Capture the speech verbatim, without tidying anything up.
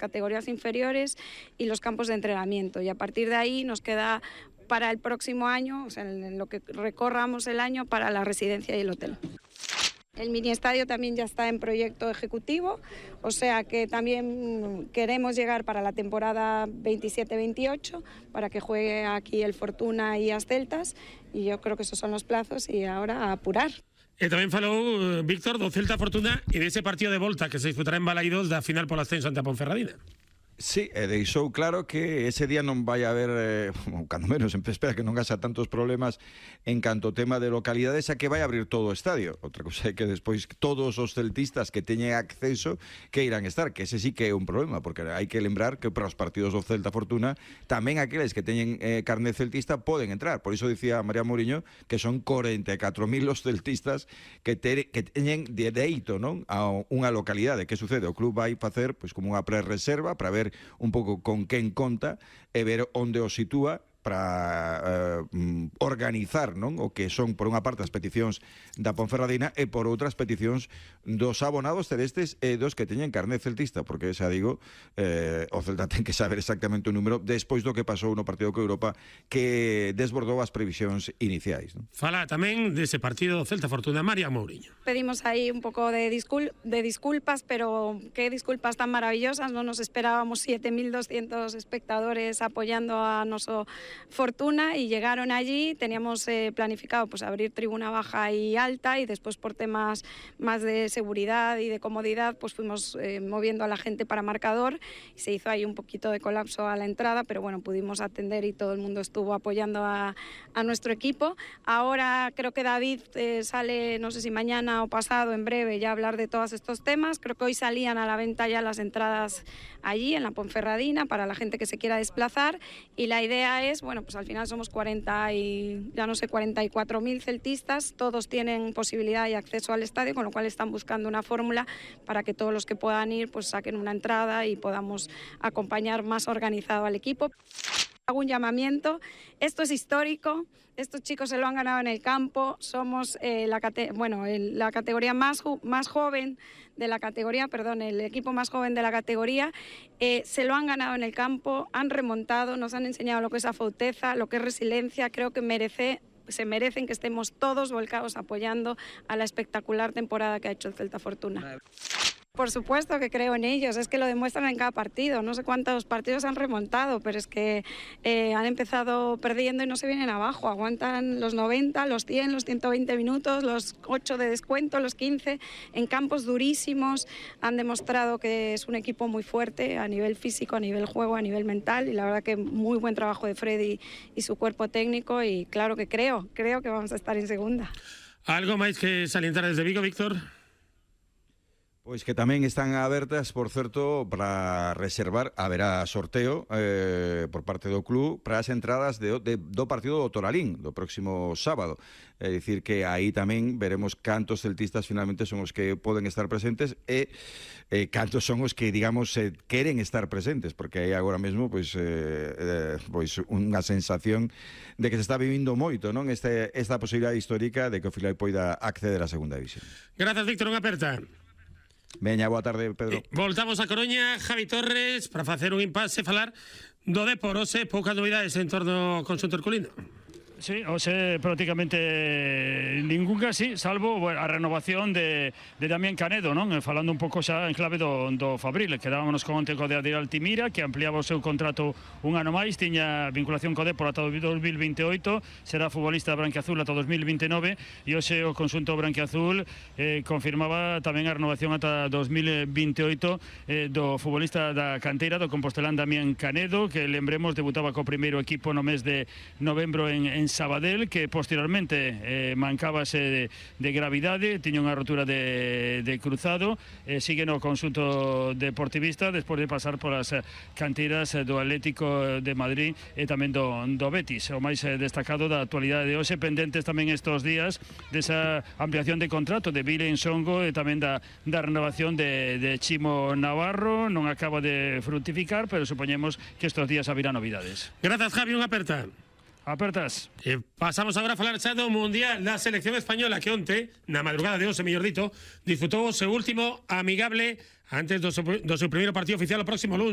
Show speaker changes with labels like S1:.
S1: categorías inferiores y los campos de entrenamiento. Y a partir de ahí nos queda para el próximo año, o sea, en lo que recorramos el año, para la residencia y el hotel. El mini estadio también ya está en proyecto ejecutivo, o sea que también queremos llegar para la temporada veintisiete veintiocho para que juegue aquí el Fortuna y as Celtas, y yo creo que esos son los plazos y ahora a apurar.
S2: E tamén falou Víctor do Celta Fortuna e dese partido de volta que se disputará en Balaídos da final polo ascenso ante a Ponferradina.
S3: Sí, e deixou claro que ese día non vai haber, eh, cando menos, espera que non haxa tantos problemas en canto tema de localidades, a que vai abrir todo o estadio. Outra cousa é que despois todos os celtistas que teñen acceso que irán estar, que ese sí que é un problema, porque hai que lembrar que para os partidos do Celta Fortuna tamén aqueles que teñen eh, carné celtista poden entrar. Por iso dicía María Mourinho que son corenta e catro mil os celtistas que, te, que teñen de deito, non, a unha localidade. Que sucede? O club vai facer pois como unha prerreserva para ver un pouco con quen conta e ver onde o sitúa para uh, organizar, non, o que son por unha parte as peticións da Ponferradina e por outras peticións dos abonados celestes e dos que teñen carné celtista, porque xa digo, eh, o Celta ten que saber exactamente o número despois do que pasou no partido co Europa, que desbordou as previsións iniciais, non?
S2: Fala tamén dese partido Celta Fortuna, María Mourinho.
S1: Pedimos ahí un pouco de, discul de disculpas, pero qué disculpas tan maravillosas, no nos esperábamos siete mil doscientos espectadores apoyando a noso Fortuna, y llegaron allí. Teníamos eh, planificado pues abrir tribuna baja y alta, y después por temas más de seguridad y de comodidad pues fuimos eh, moviendo a la gente para marcador, y se hizo ahí un poquito de colapso a la entrada, pero bueno, pudimos atender y todo el mundo estuvo apoyando a, a nuestro equipo. Ahora creo que David eh, sale, no sé si mañana o pasado, en breve, ya a hablar de todos estos temas. Creo que hoy salían a la venta ya las entradas allí en la Ponferradina para la gente que se quiera desplazar, y la idea es, bueno, pues al final somos cuarenta y ya no sé, cuarenta y cuatro mil celtistas, todos tienen posibilidad y acceso al estadio, con lo cual están buscando una fórmula para que todos los que puedan ir pues saquen una entrada y podamos acompañar más organizado al equipo. Hago un llamamiento, esto es histórico, estos chicos se lo han ganado en el campo, somos eh, la, cate bueno, el, la categoría más, más joven de la categoría, perdón, el equipo más joven de la categoría, eh, se lo han ganado en el campo, han remontado, nos han enseñado lo que es afauteza, lo que es resiliencia. Creo que merece, se merecen que estemos todos volcados apoyando a la espectacular temporada que ha hecho el Celta Fortuna. Por supuesto que creo en ellos, es que lo demuestran en cada partido. No sé cuántos partidos han remontado, pero es que eh, han empezado perdiendo y no se vienen abajo. Aguantan los noventa, los cien, los ciento veinte minutos, los ocho de descuento, los quince, en campos durísimos. Han demostrado que es un equipo muy fuerte a nivel físico, a nivel juego, a nivel mental, y la verdad que muy buen trabajo de Freddy y su cuerpo técnico, y claro que creo, creo que vamos a estar en segunda.
S2: ¿Algo máis que salientar desde Vigo, Víctor?
S3: Pois que tamén están abertas, por certo, para reservar, haberá sorteo eh, por parte do club para as entradas de, de, do partido do Toralín do próximo sábado. É dicir que aí tamén veremos cantos celtistas finalmente son os que poden estar presentes e eh, cantos son os que, digamos, eh, queren estar presentes, porque aí agora mesmo pois, eh, eh, pois unha sensación de que se está vivindo moito, non, este, esta posibilidade histórica de que o Filial poida acceder á segunda división.
S2: Grazas, Víctor, unha aperta.
S3: Veña, boa tarde, Pedro.
S2: Eh, voltamos a Coruña, Javi Torres, para facer un impasse, falar do Depor. Hoxe, poucas novidades en torno ao conxunto herculino.
S4: Sí, hoxe prácticamente ninguna, sí, salvo bueno, a renovación de, de Damián Canedo, non? Falando un pouco xa en clave do, do Fabril. Quedábamos con onte co de Adrián Altimira, que ampliaba o seu contrato un ano máis, tiña vinculación co Depor ata o dos mil veintioito, será futbolista branquiazul ata o dos mil veintinove, e hoxe o conxunto branquiazul eh, confirmaba tamén a renovación ata dos mil veintioito eh, do futbolista da canteira do Compostelán Damián Canedo, que lembremos debutaba co primeiro equipo no mes de novembro en, en Sabadell, que posteriormente eh, mancábase de, de gravidade, tiña unha rotura de, de cruzado, eh, sigue no conxunto deportivista despois de pasar polas canteiras do Atlético de Madrid e tamén do, do Betis. O máis destacado da actualidade de hoxe, pendentes tamén estes días desa ampliación de contrato de Vile Ensongo e tamén da, da renovación de, de Chimo Navarro. Non acaba de fructificar, pero supoñemos que estes días haberá novidades.
S2: Grazas, Javi, unha aperta.
S4: Apertas.
S2: E pasamos agora a falar xa do Mundial da selección española que onte, na madrugada de once, mellor dito, disputou o seu último amigable antes do seu, do seu primeiro partido oficial o próximo luns.